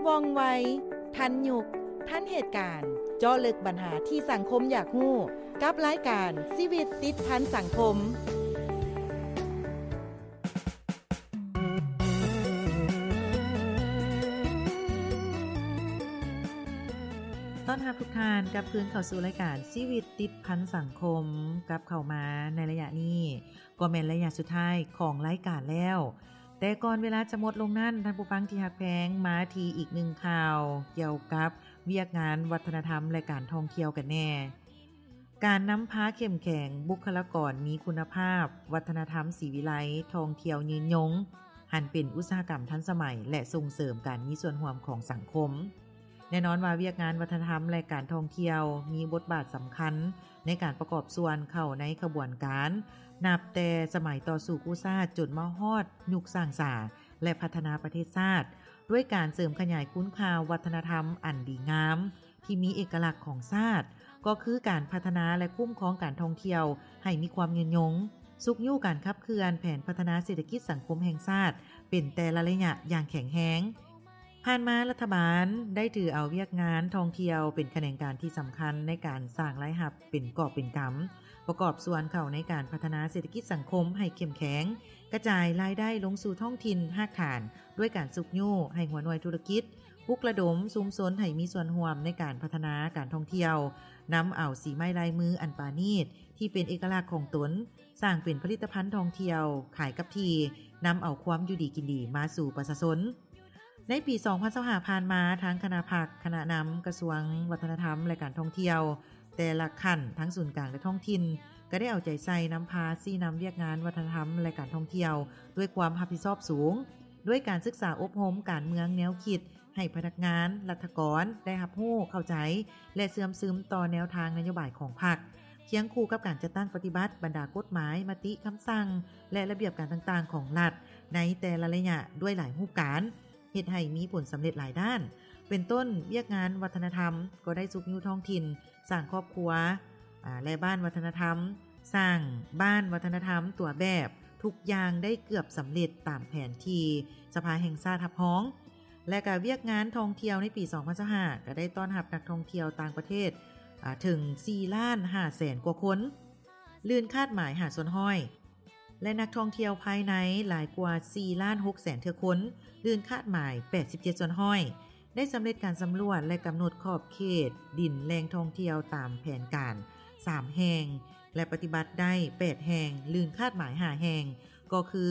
ວ່ອງໄວ, ທັນຍຸກ, ທັນເຫດການ, ເຈາະເລິກບັນຫາທີ່ສັງຄົມຢາກຮູ້ ກັບລາຍການຊີວິດຕິດພັນສັງຄົມ. ຕ້ອນຮັບທຸກທ່ານກັບຄືນເຂົ້າສູ່ລາຍການຊີວິດຕິດພັນສັງຄົມ ກັບເຂົ້າມາໃນໄລຍະນີ້ ກໍແມ່ນໄລຍະສຸດທ້າຍຂອງລາຍການແລ້ວ. ແຕ່ກ່ອນເວລາຈະໝົດລົງນັ້ນ, ທ່ານຜູ້ຟັງທີ່ຮັກແພງ, ມາທີ່ອີກໜຶ່ງຂ່າວກ່ຽວກັບວຽກງານວັດທະນະທຳ ແລະ ການທ່ອງທ່ຽວກັນແດ່. ການນຳພາເຂັ້ມແຂງ, ບຸກຄະລາກອນມີຄຸນນະພາບ, ວັດທະນະທຳສີວິໄລ, ທ່ອງທ່ຽວຍືນຍົງ, ຫັນເປັນອຸດສາຫະກຳທັນສະໄໝ ແລະ ສົ່ງເສີມການມີສ່ວນຮ່ວມຂອງສັງຄົມ. ແນ່ນອນວ່າວຽກງານວັດທະນະທຳ ແລະ ການທ່ອງທ່ຽວມີບົດບາດສຳຄັນໃນການປະກອບສ່ວນເຂົ້າໃນຂະບວນການ ນັບແຕ່ສະໄໝຕໍ່ສູ້ກູ້ຊາດຈົນມາຮອດຍຸກສ້າງສາ ແລະ ພັດທະນາປະເທດຊາດ ດ້ວຍການເສີມຂະຫຍາຍຄຸນຄ່າວັດທະນະທຳອັນດີງາມ ທີ່ມີເອກະລັກຂອງຊາດ ກໍຄືການພັດທະນາ ແລະ ຄຸ້ມຄອງການທ່ອງທ່ຽວໃຫ້ມີຄວາມຍືນຍົງ, ຊຸກຍູ້ການຂັບເຄື່ອນແຜນພັດທະນາເສດຖະກິດສັງຄົມແຫ່ງຊາດເປັນແຕ່ລະໄລຍະຢ່າງແຂງແຮງ. ຜ່ານມາລັດຖະບານໄດ້ຖືເອົາວຽກງານທ່ອງທ່ຽວເປັນຂະແໜງການທີ່ສຳຄັນໃນການສ້າງລາຍຮັບເປັນກອບເປັນກຳ, ປະກອບສ່ວນເຂົ້າໃນການພັດທະນາເສດຖະກິດສັງຄົມໃຫ້ເຂັ້ມແຂງ, ກະຈາຍລາຍໄດ້ລົງສູ່ທ້ອງຖິ່ນຮາກຖານ ດ້ວຍການຊຸກຍູ້ໃຫ້ຫົວໜ່ວຍທຸລະກິດ ປຸກລະດົມຊຸມຊົນໃຫ້ມີສ່ວນຮ່ວມໃນການພັດທະນາການທ່ອງທ່ຽວ, ນຳເອົາສີໄມ້ລາຍມືອັນປານີດທີ່ເປັນເອກະລັກຂອງຕົນ ສ້າງເປັນຜະລິດຕະພັນທ່ອງທ່ຽວຂາຍກັບທີ່, ນຳເອົາຄວາມຢູ່ດີກິນດີມາສູ່ປະຊາຊົນ. ໃນປີສອງພັນຊາວຫ້າຜ່ານມາ, ທາງຄະນະພັກ, ຄະນະນຳກະຊວງວັດທະນະທຳ ແລະ ການທ່ອງທ່ຽວ ແຕ່ລະຂັ້ນ ທັງສູນກາງ ແລະ ທ້ອງຖິ່ນ ກໍໄດ້ເອົາໃຈໃສ່ນຳພາຊີ້ນຳວຽກງານວັດທະນະທຳ ແລະ ການທ່ອງທ່ຽວດ້ວຍຄວາມຮັບຜິດຊອບສູງ, ດ້ວຍການສຶກສາອົບຮົມການເມືອງແນວຄິດ ໃຫ້ພະນັກງານ, ລັດຖະກອນ ໄດ້ຮັບຮູ້, ເຂົ້າໃຈ ແລະ ເຊື່ອມຊຶມຕໍ່ແນວທາງນະໂຍບາຍຂອງພັກ, ຄຽງຄູ່ກັບການຈັດຕັ້ງປະຕິບັດບັນດາກົດໝາຍ, ມະຕິ, ຄຳສັ່ງ ແລະ ລະບຽບການຕ່າງໆຂອງລັດໃນແຕ່ລະໄລຍະດ້ວຍຫຼາຍຮູບການ, ເຮັດໃຫ້ມີຜົນສຳເລັດຫຼາຍດ້ານ. ເປັນຕົ້ນ, ວຽກງານວັດທະນະທຳກໍໄດ້ຊຸກຍູ້ທ້ອງຖິ່ນ, ສ້າງຄອບຄົວ, ອາ, ແລະ ບ້ານວັດທະນະທຳ, ສ້າງບ້ານວັດທະນະທຳຕົວແບບ, ທຸກຢ່າງໄດ້ເກືອບສຳເລັດຕາມແຜນທີ່ສະພາແຫ່ງຊາດຮັບຮອງ. ແລະ ກະວຽກງານທ່ອງທ່ຽວໃນປີສອງພັນຊາວຫ້າ ກະໄດ້ຕ້ອນຮັບນັກທ່ອງທ່ຽວຕ່າງປະເທດ ອາ ເຖິງສີ່ລ້ານຫ້າແສນກວ່າຄົນ, ລື່ນຄາດໝາຍຫ້າສ່ວນຮ້ອຍ ແລະ ນັກທ່ອງທ່ຽວພາຍໃນຫຼາຍກວ່າສີ່ລ້ານຫົກແສນເທື່ອຄົນ, ລື່ນຄາດໝາຍແປດສິບເຈັດສ່ວນຮ້ອຍ. ໄດ້ສຳເລັດການສຳຫຼວດ ແລະ ກຳນົດຂອບເຂດດິນແຫຼ່ງທ່ອງທ່ຽວຕາມແຜນການສາມແຫ່ງ ແລະ ປະຕິບັດໄດ້ແປດແຫ່ງ, ລື່ນຄາດໝາຍຫ້າແຫ່ງ ກໍຄື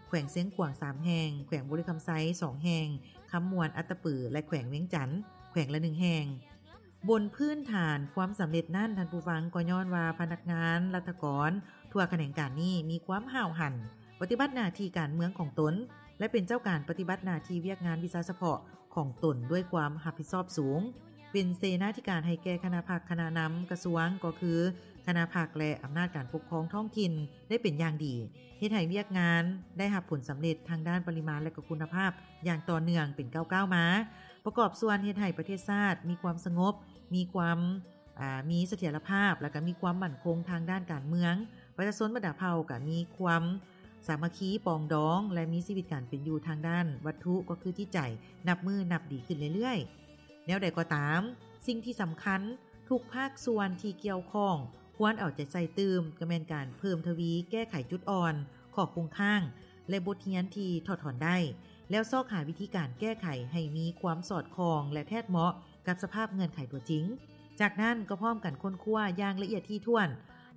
ແຂວງຊຽງຂວາງສາມແຫ່ງ, ແຂວງບໍລິຄຳໄຊສອງແຫ່ງ, ຄຳມ່ວນ, ອັດຕະປື ແລະ ແຂວງວຽງຈັນ ແຂວງລະໜຶ່ງແຫ່ງ. ບົນພື້ນຖານຄວາມສຳເລັດນັ້ນ, ທ່ານຜູ້ຟັງ, ກໍຍ້ອນວ່າພະນັກງານລັດຖະກອນທົ່ວຂະແໜງການນີ້ມີຄວາມຫ້າວຫັນ, ປະຕິບັດໜ້າທີ່ການເມືອງຂອງຕົນ ແລະ ເປັນເຈົ້າການປະຕິບັດໜ້າທີ່ວຽກງານວິຊາສະເພາະຂອງຕົນດ້ວຍຄວາມຮັບຜິດຊອບສູງ, ເປັນເສນາທິການໃຫ້ແກ່ຄະນະພັກ, ຄະນະນຳກະຊວງ, ກໍຄືຄະນະພັກ ແລະ ອຳນາດການປົກຄອງທ້ອງຖິ່ນໄດ້ເປັນຢ່າງດີ, ເຮັດໃຫ້ວຽກງານໄດ້ຮັບຜົນສຳເລັດທາງດ້ານປະລິມານ ແລະ ກໍຄຸນນະພາບຢ່າງຕໍ່ເນື່ອງເປັນກ້າວໆມາ. ປະກອບສ່ວນເຮັດໃຫ້ປະເທດຊາດມີຄວາມສະຫງົບ, ມີຄວາມ ອາ ມີສະຖຽນລະພາບ ແລະ ກະມີຄວາມໝັ້ນຄົງທາງດ້ານການເມືອງ, ປະຊາຊົນບັນດາເຜົ່າກະມີຄວາມສາມັກຄີປອງດອງ ແລະ ມີຊີວິດການເປັນຢູ່ທາງດ້ານວັດຖຸ ກໍຄືຈິດໃຈ ນັບມື້ນັບດີຂຶ້ນເລື້ອຍໆ. ແນວໃດກໍຕາມ, ສິ່ງທີ່ສຳຄັນ, ທຸກພາກສ່ວນທີ່ກ່ຽວຂ້ອງຄວນເອົາໃຈໃສ່ຕື່ມ, ກໍແມ່ນການເພີ່ມທະວີແກ້ໄຂຈຸດອ່ອນ, ຂໍ້ຄົງຄ້າງ ແລະ ບົດຮຽນທີ່ຖອດຖອນໄດ້, ແລ້ວຊອກຫາວິທີການແກ້ໄຂໃຫ້ມີຄວາມສອດຄ່ອງ ແລະ ແທດເໝາະກັບສະພາບເງື່ອນໄຂຕົວຈິງ. ຈາກນັ້ນກໍພ້ອມກັນຄົ້ນຄວ້າຢ່າງລະອຽດຖີ່ຖ້ວນ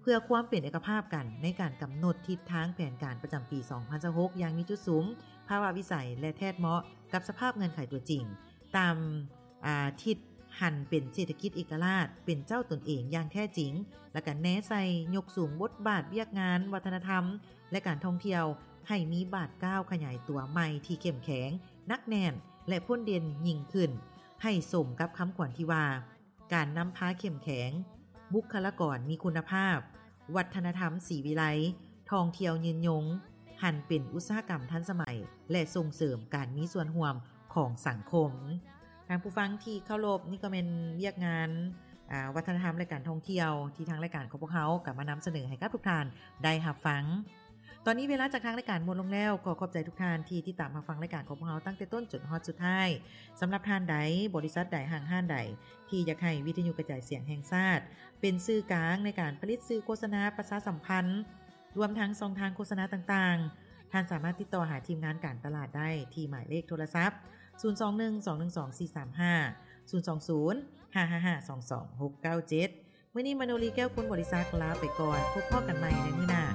ເພື່ອຄວາມເປັນເອກະພາບກັນໃນການກຳນົດທິດທາງແຜນການປະຈຳປີສອງພັນຊາວຫົກ ຢ່າງມີຈຸດສຸມ, ພາວະວິໄສ ແລະ ແທດເໝາະກັບສະພາບເງື່ອນໄຂຕົວຈິງ, ຕາມ ອາ ທິດຫັນເປັນເສດຖະກິດເອກະລາດ ເປັນເຈົ້າຕົນເອງຢ່າງແທ້ຈິງ ແລະ ກະແນໃສ່ຍົກສູງບົດບາດວຽກງານວັດທະນະທຳ ແລະ ການທ່ອງທ່ຽວ ໃຫ້ມີບາດກ້າວຂະຫຍາຍຕົວໃໝ່ທີ່ເຂັ້ມແຂງ, ໜັກແໜ້ນ ແລະ ພົ້ນເດັ່ນຍິ່ງຂຶ້ນ, ໃຫ້ສົມກັບຄຳຂວັນທີ່ວ່າ ການນຳພາເຂັ້ມແຂງ, ບຸກຄະລາກອນມີຄຸນນະພາບ, ວັດທະນະທຳສີວິໄລ, ທ່ອງທ່ຽວຍືນຍົງ, ຫັນເປັນອຸດສາຫະກຳທັນສະໄໝ ແລະ ສົ່ງເສີມການມີສ່ວນຮ່ວມຂອງສັງຄົມ. ທ່ານຜູ້ຟັງທີ່ເຄົາລົບ, ນີ້ກໍແມ່ນວຽກງານ ອາ ວັດທະນະທຳ ແລະ ການທ່ອງທ່ຽວ ທີ່ທາງລາຍການຂອງພວກເຮົາກໍມານຳສະເໜີໃຫ້ກັບທຸກທ່ານໄດ້ຮັບຟັງ. ຕອນນີ້ເວລາຈາກທາງລາຍການໝົດລົງແລ້ວ. ຂໍຂອບໃຈທຸກທ່ານທີ່ຕິດຕາມຮັບຟັງລາຍການຂອງພວກເຮົາຕັ້ງແຕ່ຕົ້ນຈົນຮອດສຸດທ້າຍ. ສຳລັບທ່ານໃດ, ບໍລິສັດໃດ, ຫ້າງຮ້ານໃດ ທີ່ຢາກໃຫ້ວິທະຍຸກະຈາຍສຽງແຫ່ງຊາດ ເປັນສື່ກາງໃນການຜະລິດສື່ໂຄສະນາປະຊາສຳພັນ ລວມທັງຊ່ອງທາງໂຄສະນາຕ່າງໆ, ທ່ານສາມາດຕິດຕໍ່ຫາທີມງານການຕະຫຼາດໄດ້ທີ່ໝາຍເລກໂທລະສັບ ສູນສອງໜຶ່ງ ສອງໜຶ່ງສອງ ສີ່ສາມຫ້າ ສູນສອງສູນ ຫ້າຫ້າຫ້າ ສອງສອງຫົກເກົ້າເຈັດ. ມື້ນີ້ມະໂນລີ ແກ້ວຄຸນ ບໍລິສັດ ລາໄປກ່ອນ. ພົບພໍ້ກັນໃໝ່ໃນມື້ໜ້າ.